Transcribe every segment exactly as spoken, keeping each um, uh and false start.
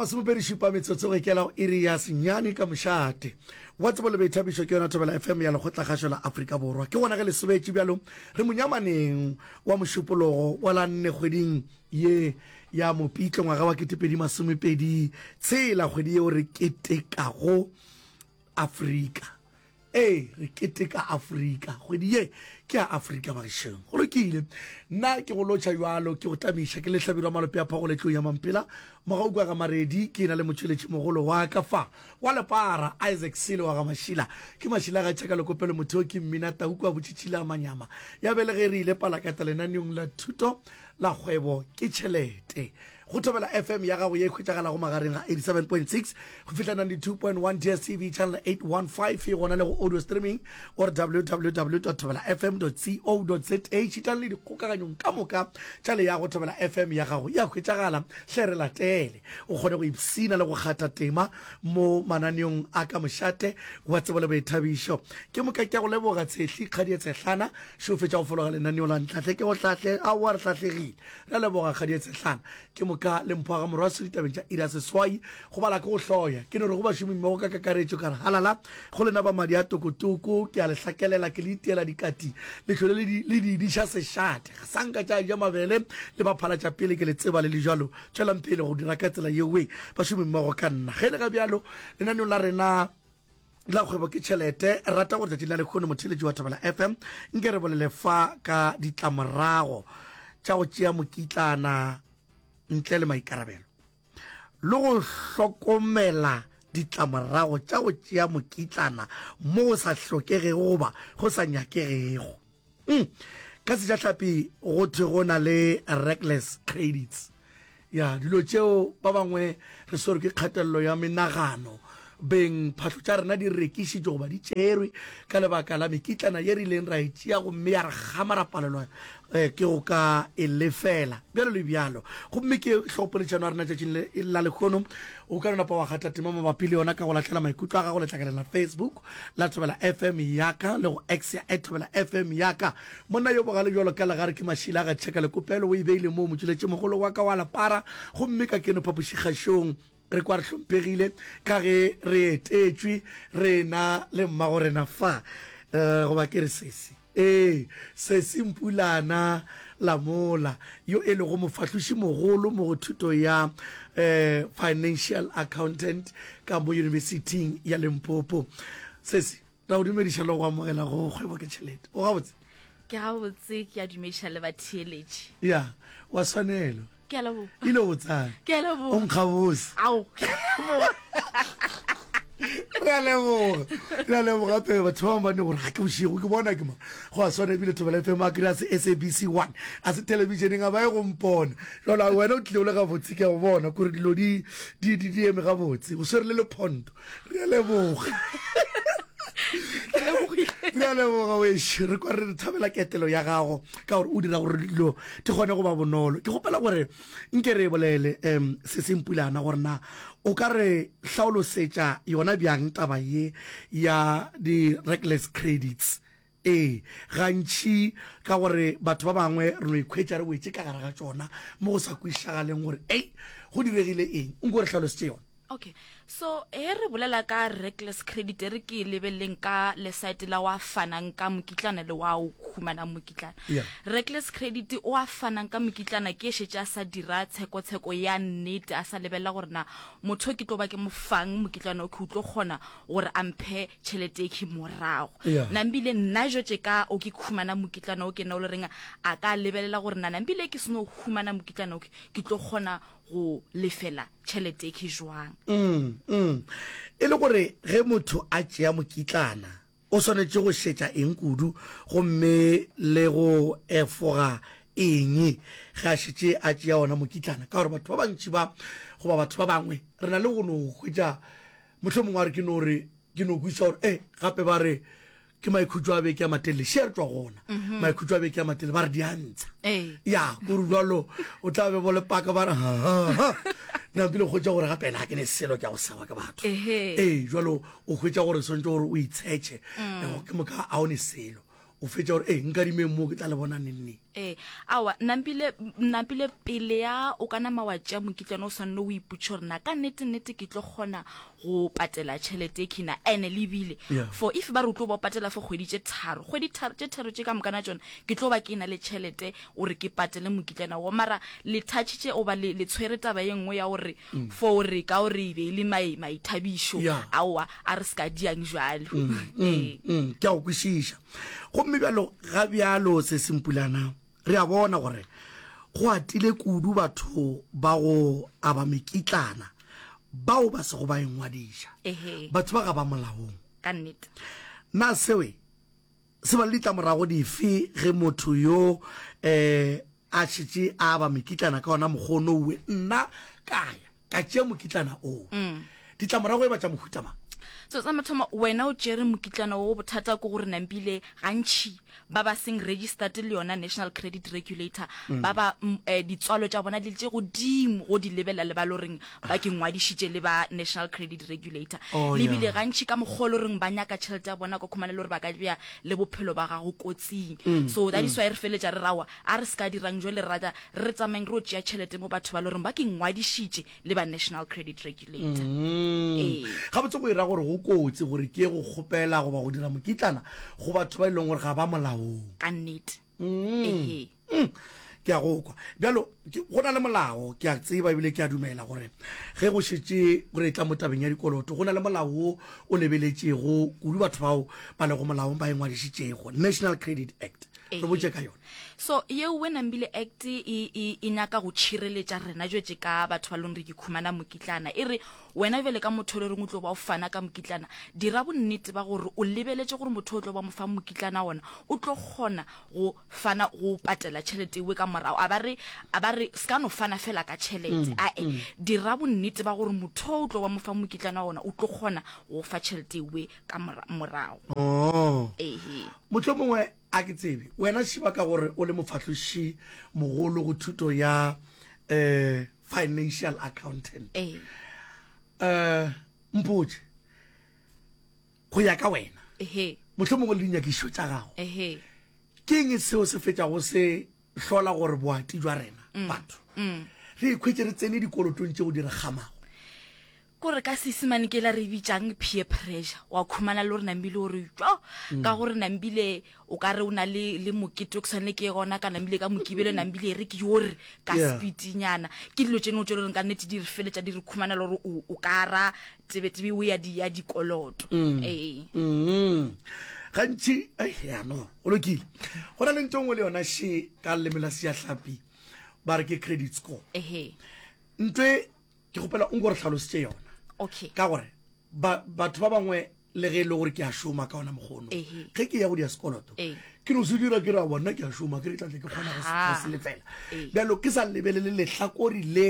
Masomepedi šupa metsotso go ikela go iri ya senyane ka mošate wa tsebo le boithabišo ke yona Thobela F M ya Lekgotlakgašo la Afrika Borwa. Ke gona ge le sobetše bjalo re monyamaneng wa mošupologo wa la nne kgweding ye ya Mopitlo ngwaga wa ketepedi masomepedi tshela, kgwedi yeo re ketekago Afrika. Ee, re keteka Afrika. Kgwedi ye ke ya Afrika bagešong. Go lokile. Nna ke go lotšha bjalo, ke go tamiša, ke le Hlabirwa Malope a Phagole Tlou ya Mampela, Mogauku wa ga Maredi, ke na le motšweletši mogolo wa ka fa, wa Lepara, Isaac Sele wa ga Mašila. Ke Mašila ga Tšhaka Lekopelo Motheo ke mmina tau kua Botšitšhila Manyama. Ya bele ge re ile Palakata lenaneong la thuto la kgwebo ke tšhelete. Go Thobela F M ya gago ye e hwetšagalago magareng ga eighty-seven point six go fihla ninety-two point one D S T V channel eight one five e gona le go audio streaming or w w w dot thobela f m dot co dot za. Šitang le dikgokaganyong ka moka tša leago Thobela F M ya gago ya hwetšagala. Hle re latele o kgone go ipshina le go kgatha tema mo mananeong a ka mošate wa tsebo le boithabišo. Ke moka ke a go leboga Tshehli Kgadie Tshehlana šo fetša go fologa lenaneo la Ntlhahle ke go hlahle. Aowa re hlahlegile. Re a leboga Kgadie Tshehlana. Ke moka le mpho ga Morwaso ditabeng tša iri ya seswai. Go bala ke go hloya. Ke no re go bašomi mmogo ka kakaretšo ka re halala go lena ba madi a tokotoko. Ke a le hlakelela, ke le itiela dikati, le hlole le di, le di diša sešate. Ga sa nka tša ja mabele le ba phala tša pele ke le tseba le le jwalo. Tšwelang pele go dira ka tsela yeo we bašomi mmogo ka nna. Ge le ga bjalo lenaneong la rena la kgwebo ke tšhelete, re rata gore tšatšing la lehono motheeletši wa Thobela F M nke re bolele fa ka ditlamorago tša go tšea mokitlana ntle le maikarabelo le go hlokomela ditlamorago tša go tšea mokitlana mo go sa hlokegego goba go sa nyakegego. Mm. Ka sejahlapi go thwe go na le reckless credits. Ya, dilo tšeo ba bangwe re swerwe ke kgatelelo ya menagano, beng phahlo tša rena di rekišitšwe goba di tšerwe ka lebaka la mekitlana ye re ileng ra e tšea gomme ya re kgama ra palelwa eh, ke go ka e lefela, bjalo le bjalo. Gomme ke hlogopoledišano ya rena tšatšing le la lehono. O ka no napa wa kgatha tema mabapi le yona ka go lahlela maikutlo a gago letlakaleng la Facebook la Thobela F M yaka le go X ya at Thobela F M yaka. Monna yo bogale bjalo ka legare ke Mašila ga Tšheka Lekopelo, o e beile moo motšweletšimogolo wa ka wa lepara, gomme ka keno phapošikgašong re kwa re hlomphegile ka ge re etetšwe re na le mmagorena fa, eh, goba ke re sesi. Ee, sesi Mpulana Lamola, yo e lego mofahlošimogolo mo go thuto ya eh, Financial Accountant ka mo Yunibesithing ya Limpopo. Sesi, ra go dumediša le go amogela go Kgwebo ke Tšhelete. O gabotse? Ke gabotse, ke a dumediša le batheeletši. Ya, wa swanelo. Ke a leboga. Ile botsana. Ke a leboga. O nkgabose. Ao, ke a leboga. Re a leboga. Re a leboga gape batho ba bangwe ba ne gore ga ke bošego ke bona ke ma. Go a swana ebile Thobela F M a kry-a se S A B C one a se televisioneng a ba ye go mpona. Jalo wena o tlile o le gabotse ke a go bona kore dilo di di di di eme gabotse. O swere le lephonto. Re a leboga. Re a leboga wešo. Re kwa re thabela ketelo ya gago ka gore o dira gore dilo di kgone go ba bonolo. Ke kgopela gore nke re bolele um se sempulana gore na o ka re hlaolosetša yona bjang taba ye ya di-reckless credits. Ee, gantši ka gore batho ba bangwe re no ikhwetša re wetše ka gare ga tšona mo go sa kwešišagaleng gore ei go diregile eng. Nko re hlalosetše yona. Okay, so he re bolela ka reckless credit re ke lebeleleng ka le site la wa fanang ka mokitlana le wa o humanang mokitlana. Yeah. Reckless credit o a fanang ka mokitlana ke šetše a sa dira tshekotsheko ya nnete, a sa lebelela gore na motho ke tlo ba ke mo fang mokitlana o ke o tlo kgona gore a mphe tšhelete e ke morago. Yeah. Nambile nna jotše ka o ke humana mokitlana o ke nna o le reng a ka lebelela gore na nambile ke seno humana mokitlana o ke ke tlo kgona go lefela tšhelete ke jwang. Mm, mm. E le gore ge motho a tšea mokitlana o swanetše go šetša eng kudu gomme le go efoga eng ge a šetše a tšea ona mokitlana? Ka gore batho ba bantši ba goba batho ba bangwe re na le go no hwetša mohlomongwe a re ke no re ke no kwešiša gore eh gape ba re ke maikhutšo a beke a matelele še re tšwa gona mm-hmm. maikhutšo a beke a matelele ba re di a ntsha ya kore jalo o tla be bo lepaka ba re napile go hwetša gore gape ena ga ke ne selo ke a go seba ke batho ee jalo o hwetša gore swantse gore o itshetšhe mm. ke moka a o ne selo O fetša gore ee nkadimeng mo ke tla le bona neng neng. Ee, aowa, nampile, nampile pele ya o ka nama wa tšea mokitlana o swanne o ipotše gore na ka nnete nnete ke tlo kgona go patela tšhelete e khina ene le bile Yeah. for if ba re o tlo ba o patela for kgwedi tše tharo kgwedi tharo tše tharo tše ka mokana tšona ke tlo ba ke na le tšhelete gore ke patele mokitlana wo mara le touchitše oba le, le tshwere taba ye nngwe ya gore for gore ka gore e be e le mai, maithabišo Yeah. aowa a re se ka diang jwalo ee Mm, ke a go kwešiša gomme bjalo ga bjalo se sempulana re a bona gore go atile kudu batho ba go aba mekitlana bao ba sego ba engwadiša ehe batho ba ga ba molaong ka nnete na sewe se ba le ditlamorago dife ge motho yo um a šetše a aba mekitlana ka ona mokgono owe nna ka ya ka tšea mokitlana oo ditlamorago e ba tša mohuta mang so sa mathomo wena o tšere mokitlana wo bothata ke gore nampile gantši ba ba seng registered le yona national credit regulator ba ba mm, eh, ditswalo tša bona di le tše godimo go di lebelela le ba le goreng ba ke ngwadišitše le ba national credit regulator Oh, le bile yeah. gantši ka mokgwa o le goreng ba nyaka tšhelete ya bona ka khumana le gore ba ka bea le bophelo ba gago kotsing so that is why re feletša re rawa a re se ka dirang jwale re rata re tsamayeng re o tšea tšhelete mo batho ba le goreng ba ke ngwadišitše le ba national credit regulator Ee. gabotse go ira gore go kotsi gore ke ye go kgopela goba go dira mokitlana go batho ba e leng gore ga ba molaong ka nnete ehe Mm, ke a go kwa bjalo ke- go na le molao ke a tseba ebile ke a dumela gore ge go šetše gore e tla mo tabeng ya dikoloto go na le molao wo o lebeletšego kudu batho bao ba lego molaong ba e ngwadišitšego national credit act re Ehe. botše ka yona so yeo we nambile act e, e, e nyaka go tšhireletša rena jwetse ka batho ba leng re ke khumana mokitlana e re wena bjale ka motho o le reng o tlo ba o fana ka mokitlana dira bonnete ba gore o lebeletše gore motho o tlo ba mo fa mokitlana ona o tlo kgona go fana go patela tšhelete ewe ka morago a ba re a ba re se ka no fana fela ka tšhelete ae dira bonnete ba gore motho o tlo ba mo fa mokitlana ona o tlo kgona go fa tšhelete ewe ka mora- morago oh. ehe motlho mongwe a ke tsebe wena šiba ka gore o le mofahloši mogolo go thuto ya um financial accountant ee um mpotše go ya ka wena ehe motlho mongwe le dinyakišo tša gago ehe ke eng seo se fetšago se hlola gore boati jwa rena batho re ikhwetše re tsene dikolotong tšeo di re kgamago kore ka seesemane ke la re bitšang peer pressure wa khumana le gore nambile gore jo ka gore nambile o ka re o na le le mokete o ke tshwanele ke ye gona ka nambile ka mokibelo nambile e re ke yore ka Yeah. speednyana ke dilo tše dingwe tše e leng ka nnete di re feletša di re khumana le gore o o ka ra tebetebe o ya di ya dikoloto ee Mm. gantši ai, ya no go lokile go na le ntho e nngwe le yona še ka leleme la seahlapi ba re ke credit score ehe ntho e ke kgopela o nko re tlhalositše yona okay ka gore ba- batho ba bangwe le ge e le gore ke a šoma ka ona mokgono Ehe. ge ke ya go dia sekoloto Ee. ke no se dira ke ra bona ke a šoma ke re tlatle ke kgona go se- go Aha. se lefela Ee. bjalo ke sa lebelele lehlakori le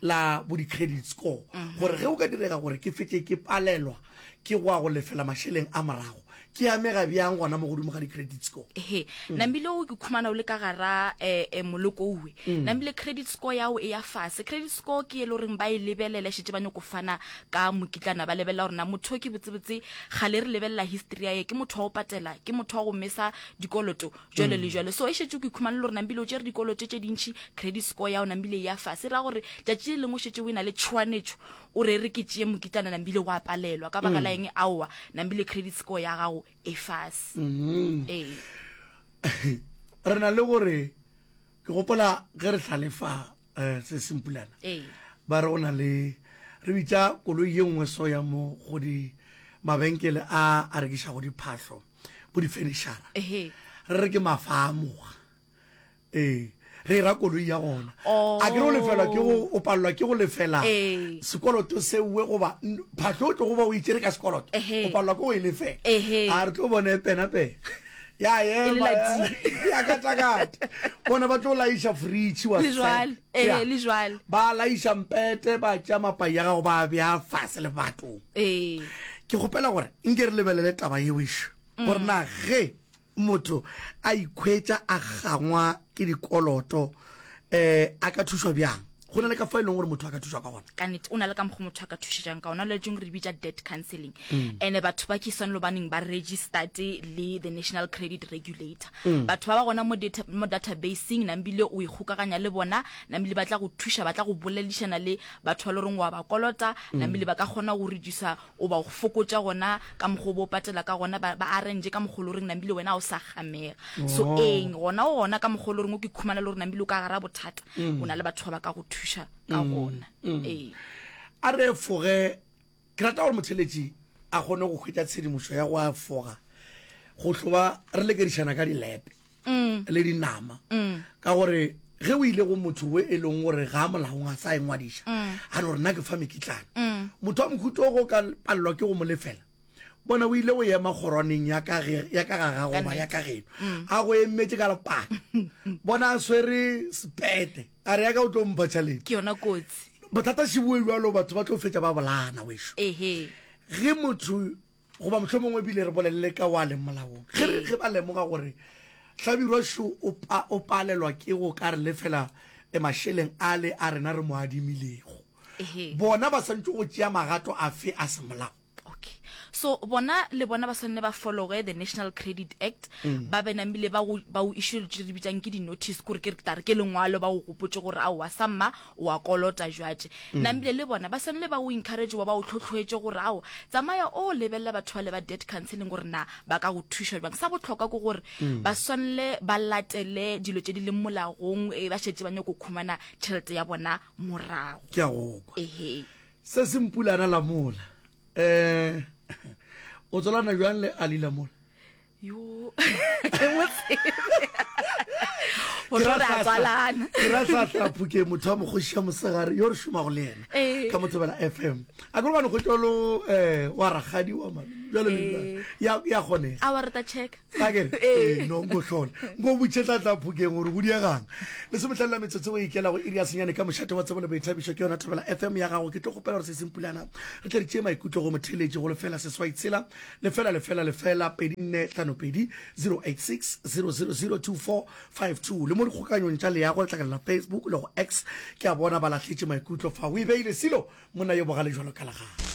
la bo di-credit score gore ge o ka direga gore ke fetse ke palelwa ke go ya go lefela mašeleng a morago ke amega bjang gona mo godimo ga di-credit score ehe nambile o ke khumana o le ka gara eh, moloko owe nambile credit score yago e ya fase credit score ke e le goreng ba e lebelela šetse ba nyako fana ka mokitlana ba lebelela gore na motho o ke botsebotse gale re lebelela history ya ye ke motho wa go patela ke motho wa go mesa dikoloto jalo le jalo so e šetse o ke khumana le gore nambile o tšere dikoloto tše dintšhi credit score yago nambile e ya fase e ra gore tšatši le lengwe o šetse o e na le tšhoanetšo o re re ke tšee mokitlana nambile wa palelwa ka baka la eng aowa nambile credit score ya gago e fase ee re na le gore ke gopola ge re hlalefa um se sempulana ee ba re go na le re bitša koloi ye nngwe so ya mo go di mabenkele a a rekišago diphahlo bo di-furniture ehe re re ke mafamoga ee re e ra koloi ya gona Oh. a ke re o lefelwa ke go o palelwa ke go lefela Ee. sekoloto sewe goba n- phahlo o tlo go ba o itšere ka sekoloto Ehe. o palelwa ke go e lefela Ehe. a re tlo bone e pena-pena ya E le ema la ya katakata bona ba tlo laiša fridge wa le jwale Ya. ee le jwale ba laiša mpete ba tša mapai ya gago ba bea fase lebatong ee ke kgopela gore nke re lebelele taba yeo ešo gore na ge motho a ikhwetša a gangwa ke dikoloto um a ka thušwa bjang Go na le ka fa e leng gore motho a ka thušwa ka gona. Ka nnete, o na le ka mokgwa motho a ka thušetšang ka ona, le tšeng re bitša debt counseling. Mm. And batho ba ke swanelo baneng ba registered le the National Credit Regulator. Mm. Batho ba ba gona mo data, mo databaseng, nambile o ikgokaganya le bona, nambile ba tla go thuša, ba tla go boledišana le batho ba le goreng wa ba kolota, mm. nambile ba ka kgona go reducer o ba go fokotša gona ka mokgwa o bo patela ka gona, ba, ba arrange ka mokgwa o le goreng nambile wena o sa gamega. So oh. eng gona o gona ka mokgwa o le goreng o ke khumana le gore nambile o ka gara bothata, mm. o na le batho ba ba ka go thuša ka mm. gona. Mm. Ee. A re efoge, ke rata gore motheletši a kgone go hwetša tshedimošo ya go efoga go hloba re lekedišana ka dilepe mm. le dinama mm. ka gore ge o ile go motho we e leng gore ga a molaong a sa e ngwadiša mm. a no re nna ke fa mekitlana mm. motho wa mohuto go ka palelwa ke go mo lefela, bona o ile go ema kgorwaneng ya ka ge- ya ka ga gago goba ya ka geno mm. a go emetše ka lepaka, bona a swere sepete, a re ya ka o tlo mpha tšhalete. Ke yona kotsi. Bothata šiboe bjalo, batho ba tlo fetša ba bolana wešo. Ehe. Ge motho goba mohlomongwe ebile re bolelele ka wa leng molaong, ge re ge ba lemoga gore Hlabirwa šo o pa, o palelwa ke go ka re lefela eh, mašeleng ale a rena re mo adimilego, Ehe. bona ba swantše go tšea magato afe a semolao? Okay, so bona le bona ba swanne ba followe the National Credit Act, mm. ba be namile ba go ba o issue tše re bitsang ke di notice, gore ke re tare ke lengwalo ba go gopotse gore aowa samma o a kolota jwatše. mm. Namile le bona ba swanele ba o encourage wa ba o tlhotlhoetse gore ao tsamaya o lebelela batho ba le ba debt counseling gore na ba ka go thuša jwang. Sa botlhokwa ke gore mm. ba swanele ba latele dilo tše di leng molagong, e ba šetse ba nyako khumana tšhelete ya bona morago. Ke a go kwa. Ehe. Se se mpulana lamola. Eh, o tswalana bjang le Ali Lamola? Yo, ke mo tsebe. Gore re a tswalana. Ke ra hlahla Phukeng, motho wa mokgoši ya mosegare yo re šomago le yena Eh. ka Mothobela F M. A ke gobane go tšwalo eh wa rakgadi wa malome bjalo le bjalo. Ya ya kgonega. A wa re ta check. A ke re, ee, no nko hlola. Nko botše Tlatla Phokeng gore go diegang. Lesomehlano la metsotso go ikela go iri ya senyane ka mošate wa tsebo le boithabišo ke yona Thobela F M ya gago. Ke tlo kgopela gore se sempulana re tle re tšee maikutlo go motheeletši go lefela seswai tshela lefela lefela lefela pedi nne hlano pedi zero eight six zero zero zero two four five two le mo dikgokanyong tša leago letlakala la Facebook le go X. Ke a bona ba lahletše maikutlo fa. O e beile silo monna yo bogale jwalo ka legae.